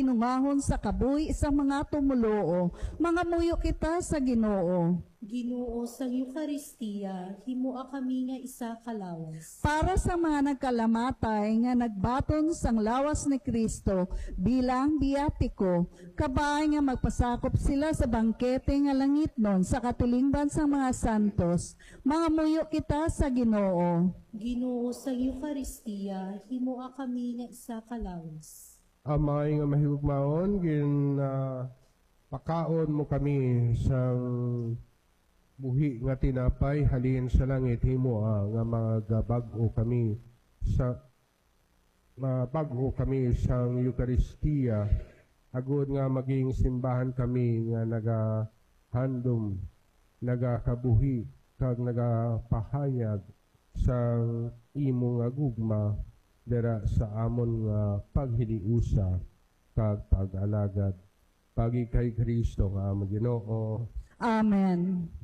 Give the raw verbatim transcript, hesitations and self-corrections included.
Hinungahon sa kabuhi sang mga tumoluo, mangamuyo kita sa Ginoo. Ginoo, sang Eukaristia, himoa kami nga isa ka lawas. Para sa mga nagkalamatay nga nagbaton sang lawas ni Cristo bilang biyatiko, kabay nga magpasakop sila sa bangkete nga langitnon sa katilingban sang mga santos, mangamuyo kita sa Ginoo. Ginoo, sang Eukaristia, himoa kami nga isa ka lawas. Amay nga mahigugmaon, gin ah, pakaon mo kami sang buhi nga tinapay halin sa langit, himoa nga magabag-o kami sa mabag-o kami sang Eukaristia, agod nga maging simbahan kami nga nagahandom, nagakabuhi, kag nagapahayag sang imo nga gugma dira sa amon nga paghiliusa kag pag-alagad. Pagi kay Cristo nga amon Ginoo. Amen.